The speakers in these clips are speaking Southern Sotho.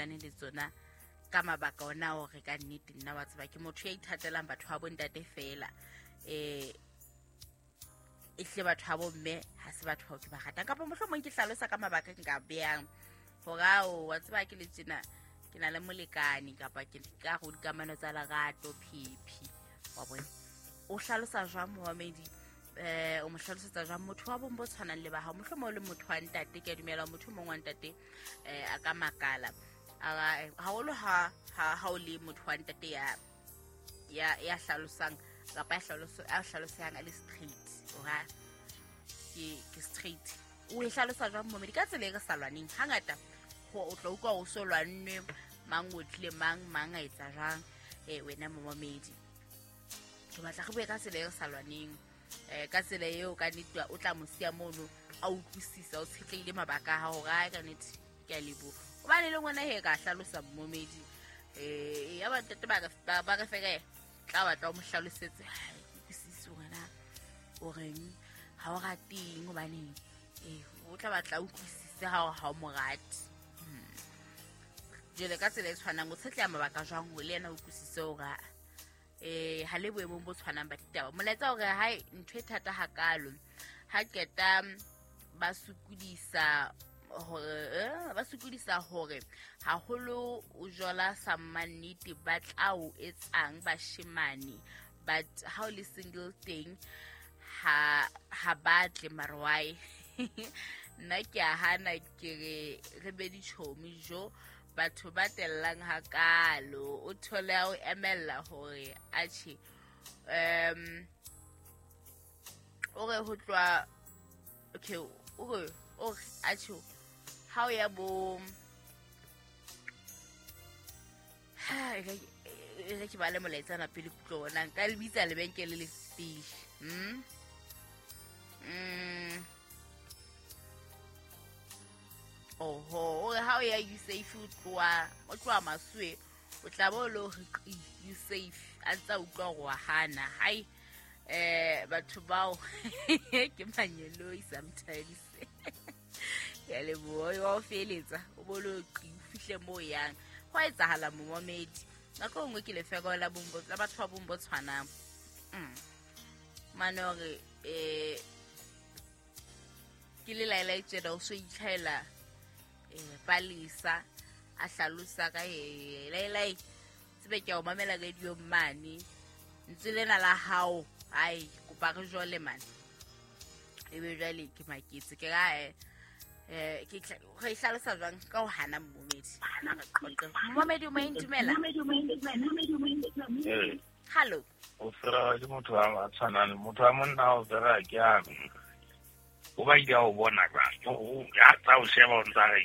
sebetsane le tsona ka mabaka ona hore ka nnete nna wa tseba ke motho ya ithatelang batho ba bontate fela e hle batho ba bomme ha se batho bao ke ba ratang kapa mohlomong ke hlalosa ka mabaka ke nka beyang hore ao wa tseba ke le tjena ke na le molekane kapa ke ka go dikamano tsa lerato phephi wa bone o hlalosa jwang momamedi o mo hlalosetsa jwang motho wa bong bo tshwanang le ba hao mohlomong o le motho wa ntate ke a dumela motho o mong wa ntate a ka makala haholo ha ha o le motho wa ntate ya hlalosang kapa ya hlalosang a le straight ora ke straight o e hlalosa jwang momedi ka tsela e re sa lwaneng hangata o tla utlwa o so lwanne mang o tlile mang mang a etsa jwang wena momamedi ke batla re bue ka tsela e re sa lwaneng ka tsela eo ka nnete o tla mo siya mono a utlwisisa o tshetleile mabaka a hao hore ka nnete ke a leboha hobane le ngwana he ka hlalosa momedi ya bantate ba re feke tla batla o mo hlalosetse utlwisise wena o reng ha o rateng hobaneng o tla batla utlwisise ha o mo rate. Jwale ka tsela e tshwanang o tshetleha mabaka jwang hore le yena o utlwisise hore ha le boemong bo tshwanang ba ditaba. Molaetsa hore hae ntho e thata hakalo ha qeta ba sokodisa hore haholo o jola sa mannete ba tla o etsang bashemane but ha o le single teng ha batle marwai nna ke a hana ke re be ditjhomi jo batho ba tellang hakalo o thole o emella hore atjhe o re ho tlwa okay o re atjhe ha o ya bo ha e ke bale molaetsana pele kutlo bona nka le bitsa lebenkele le pele oho o re ha o ya Usafe o tloha Masuwe o tla bo le hore Usafe a ntsa utlwa hore wa hana hai batho bao ke manyeloi sometimes ya leboha wa o feletsa o bo le fihle mo yang ho etsahala momamedi nako nngwe ke lefeko la bombo la batho ba bombo tshwanang mane hore ke le laela tjena o so itlhaela palisa a hlalosa ka laelai tsebe ke o mamela radio mane ntse lena la hao ai kopa re jole mane ebe jwale ke maketse ke ra ke re hlalosa jwang ka ho hana momedi momedi o mo intumela hello o fera ke motho a tshwanang motho a monna o fera ke a o ba ile o bona ka o ya tsa o sheba o ntsa re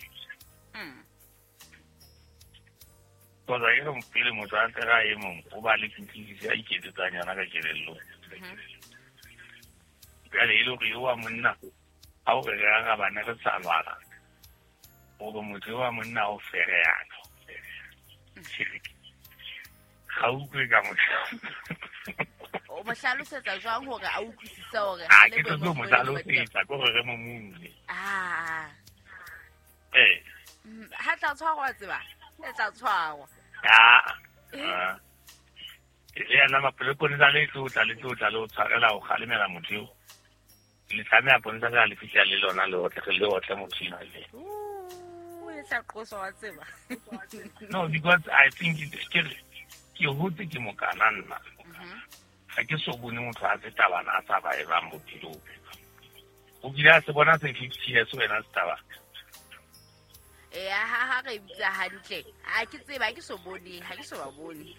kgotsa e re pele motho a tsega e mongwe o ba le kutlwisiso a iketsetsang yona ka kelello jale e le gore yo wa monna ha o re re arabane re sa lwana gore motho yo wa monna o fereyana ga utlwe ka motho o mo hlalosetsa jwang hore a utlwisise hore ha ke tlo mo hlalosetsa ke hore re mo mune ha tla tshwarwa tseba e tla tshwarwa le yana maponesa le tlotla le tlotla le o tshwarela o kgalemela motho eo le tlameha ponesa ka le fihla le lona le otle le otle motho ena le o le tla qoswa wa tseba no because I think ke hotse ke mokana nna ga ke so bone motho a se tabana a sa ba e bang bophelong o kile a se bona se 50 years wena setaba ha re bitsa hantle ha ke tseba ha ke so bone ha ke so ba bone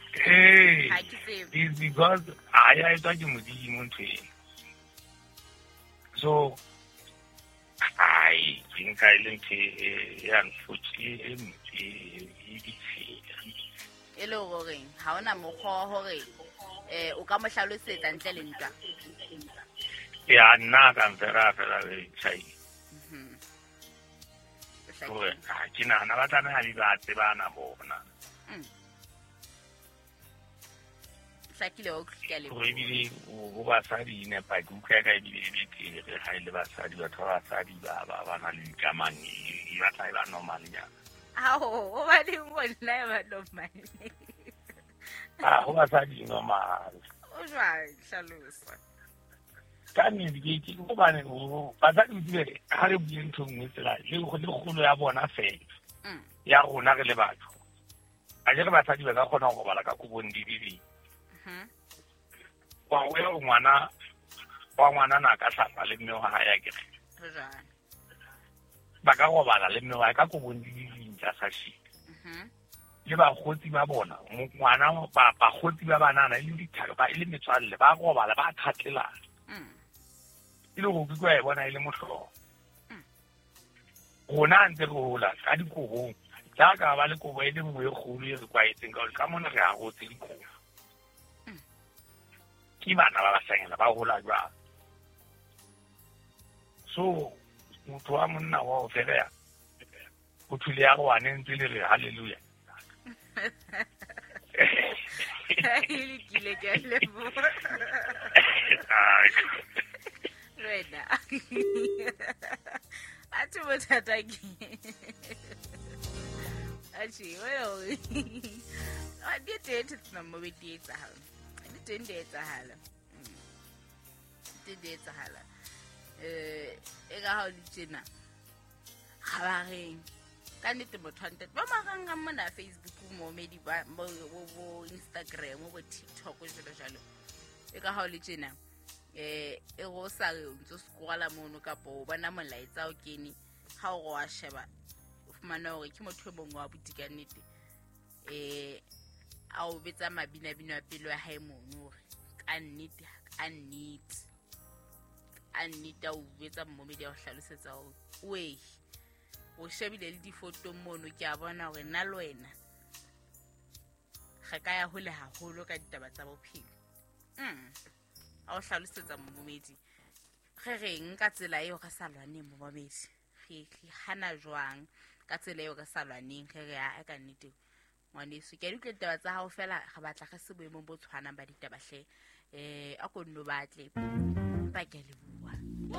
ha ke tsebe it's because a ya etswa ke modimo ntho eno so ai ke nka e le ntho e unfortunate e ditshila e le hore ha ona mokgwa hore o ka mo hlalosetsa ntle le ntwa ya nna ka mfera fela le chai gore ke nahana ba tlameha di ba tsebana bona hlakile o tlile gore ebile go basadi e nepa ke utlwa ka ebile e betere ga e le basadi batho ba basadi ba na le dikamano e batla e ba normal nyana Ao, o ba le ngwana ya ba normal. Ah, ho basadi normal. O jwang hlalosa. Ka nnete ke hobane basadi o tsebe ha re bue ntho nngwe tsela le kgolo ya bona fela. Ya rona re le batho. A jere basadi ba ka kgona ho robala ka kobong di le. Wa o ya ngwana wa ngwana na ka hlapa le mme wa hae a kere. Ba ka robala le mme wa hae ka kobong di le tsa sashi. Le bakgotsi ba bona ngwana ba bakgotsi ba banana e le dithaka ba e le metswalle ba robala ba thatlelana. E le go ke e bona e le mohlolo. Rona ntse re hola ka dikobong jaaka ba le kobo e le nngwe e kgolo e re kwaetseng ka gore ka mona re arotse dikobo. Ke bana ba bashanyana ba hola jwang. So motho wa monna wa o fereya o thule ya rwane ntse le re hallelujah. Le kile ke leboha. Wena. Atho bothata ke. Atjhe, well. A di teng tsena mo di etsahala. Di teng di etsahala. Di teng di etsahala. E ka ha o le tjena. Kgabareng. Ka nnete motho wa ntate ba marangrang mona Facebook mo medi ba bo Instagram bo TikTok jalo jalo. E ka ha o le tjena. E go sa re o ntso scrolla mono kapa o bona molaetsa o kene ha o wa sheba o fumana hore ke motho e mongwe wa buti ka nnete a o betsa mabinabino a pelo ya hae mono hore ka nnete a o betsa mmomedi a o hlalosetsa hore wei o shebile le difoto mono ke a bona hore nna le wena re ka ya hole haholo ka ditaba tsa bophelo. A o hlalosetsa momedi re reng ka tsela eo re sa lwaneng momedi re hana jwang ka tsela eo re sa lwaneng re re a ka nnete ngwaneso ke a di utlwa ditaba tsa hao fela re batla re se boemong bo tshwanang ba ditaba hle a ko nno batle empa ke a leboha.